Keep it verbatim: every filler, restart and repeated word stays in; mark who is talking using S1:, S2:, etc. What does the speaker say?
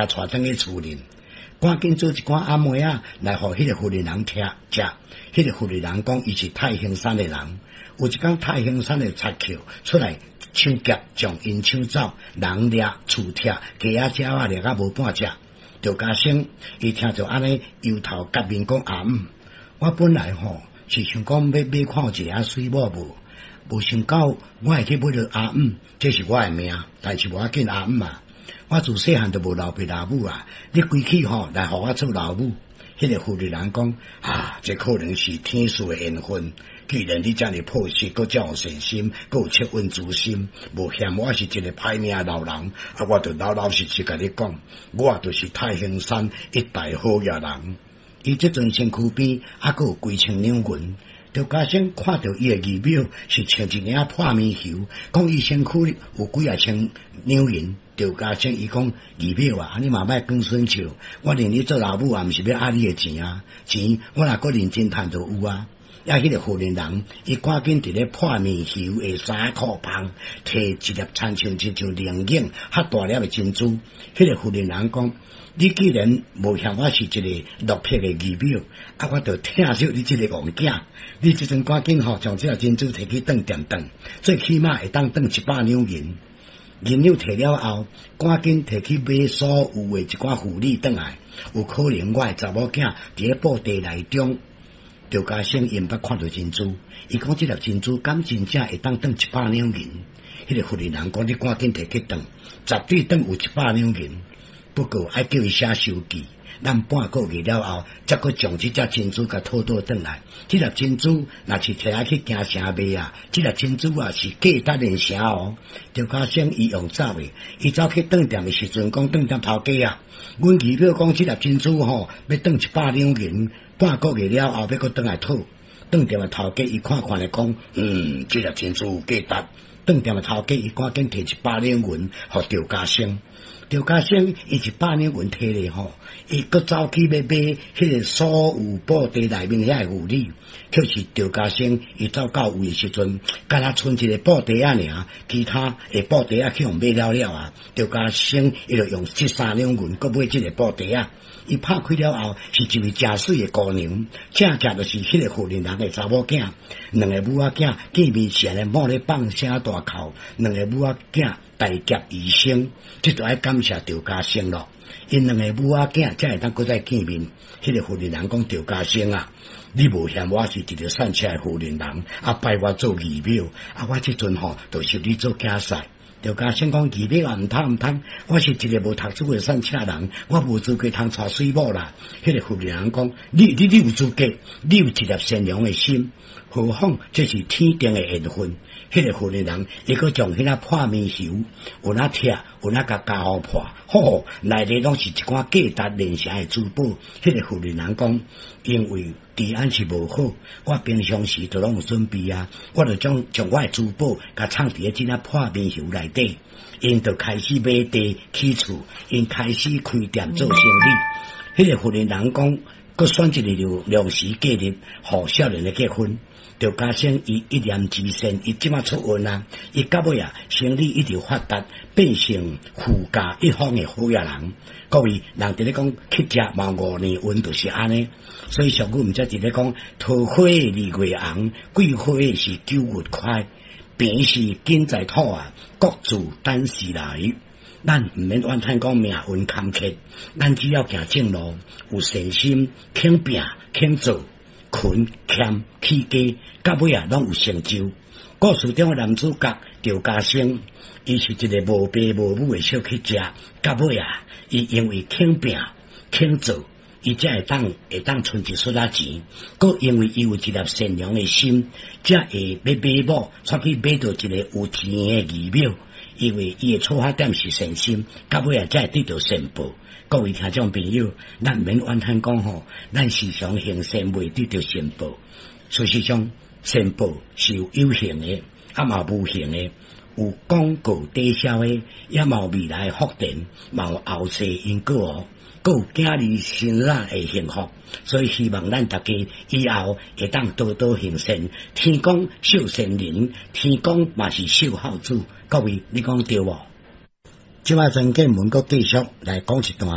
S1: 共帶轉去厝裡，趕緊煮一寡暗糜仔來予彼個婦人聽食。彼個婦人講，伊是太行山的人。有一工太行山的賊寇出來搶劫，將𪜶搶走，人掠厝拆，雞仔鳥仔掠甲無半隻。趙家生伊聽著按呢，搖頭匣面講阿姆，我本來吼是想講欲買看有一个媠某無，無想到我會去買著阿姆，這是我的命，但是無要緊阿姆啊。我自細漢就無老爸老母啊，你歸去吼來予我做老母。彼個婦人講啊，這可能是天賜的緣分。既然你遮爾樸實，閣遮有善心，閣有惻隱之心，無嫌我是一個歹命老人，啊，我就老老實實共你講，我就是太行山一代好野人。伊這陣身軀邊猶閣有幾千兩銀，趙家生看著伊的儀表是穿一領破棉袖，講伊身軀有幾仔千兩銀。趙家生伊講儀表啊，你嘛莫講耍笑，我認你做老母也毋是欲愛你的錢啊，錢我若閣認真趁就有啊。啊，彼個婦人人，伊趕緊佇咧破棉袖的衫褲旁，提一粒親像親像龍眼較大粒的珍珠。彼個婦人人講：你既然無嫌我是一個落魄的儀表，啊，我就疼惜你這個戇囝。你這陣趕緊吼，將這粒珍珠提去當店當，最起碼會當當一百兩銀。銀兩提了後，趕緊提去買所有的一寡婦女轉來，有可能我的查某囝佇咧布袋內中。趙家生𪜶捌看著珍珠，伊講這粒珍珠敢真正會當當一百兩銀？彼個婦人講，你趕緊提去當，絕對當有一百兩銀。不過愛叫伊寫收據，咱半個月了後，才閣將這隻珍珠共討倒轉來。這粒珍珠若是提來去京城賣啊，這粒珍珠啊是價值連城哦。趙家生伊用走的，伊走去當店的時陣，講當店頭家啊，阮儀表講這粒珍珠吼，欲當一百兩銀。半個月了後，欲閣轉來討，當店的頭家伊看看咧講，嗯，這粒珍珠有價值。當店的頭家伊趕緊提一百兩銀，予趙家生。趙家生伊一百兩銀提咧吼，伊閣走去欲買彼個所有布袋內面遐个婦女，卻是趙家生伊走到位的時陣，敢若賰一个布袋仔爾，其他的布袋仔去予買了了啊。趙家生伊就用這三兩銀閣買這个布袋仔。伊拍開了後，是一位誠媠的姑娘，正正就是彼個婦人人的查某囝。兩个母仔囝見面時咧，某咧放聲大哭，兩个母仔囝大劫餘生，這就愛感謝趙家生咯。𪜶兩个母仔囝才會當閣再見面。彼個婦人人講趙家生啊，你無嫌我是一個散赤的婦人人，啊拜我做義表，啊我這陣吼就收你做囝婿。趙家生講儀表啊，毋通毋通，我是一個無讀書的散赤人，我無資格通娶媠某啦。彼個婦人講，你你你有資格，你有一粒善良的心，何況這是天定的緣分。彼個婦人人，伊閣將彼個破棉袖有哪拆，有哪共加予破，吼，內底攏是一寡價值連城的珠寶。彼個婦人人講，因為治安是無好，我平常時都攏有準備啊，我就將將我的珠寶共藏佇咧這領破棉袖內底。𪜶就開始買地起厝，𪜶開始開店做生意。彼個婦人人講，閣選一个良時吉日，予少年的結婚。趙家生伊一念之善，伊這馬出運啊！伊到尾啊，生意一直發達，變成富甲一方的好野人。各位，人佇咧講乞食嘛五年運，就是按呢。所以俗語毋才佇咧講，桃花二月紅，桂花是九月開，病是根在土啊，各自等時來。咱毋免怨嘆講命運坎坷，咱只要行正路，有善心，肯拚肯做。勤儉起家，到尾啊，攏有成就。故事中的男主角趙家生，伊是一個無爸無母的小乞食，到尾啊，伊因為肯拚肯做，伊才會當會當存一撮仔錢。閣因為伊有一粒善良的心，才會欲買某，出去買著一個有錢的儀表。因為伊的出發點是善心，到尾啊，才會得著善報。各位聽眾朋友，咱毋免怨嘆講吼，咱時常行善袂得著善報。事實上，善報是有有形的，啊嘛無形的，有廣告抵銷的，也嘛有未來的福田，嘛有後世因果哦，閣有囝兒生仔的幸福。所以希望咱大家以後會當多多行善。天公賞善人，天公嘛是賞孝子。各位，你講對無？這擺曾建文閣繼續來講一段。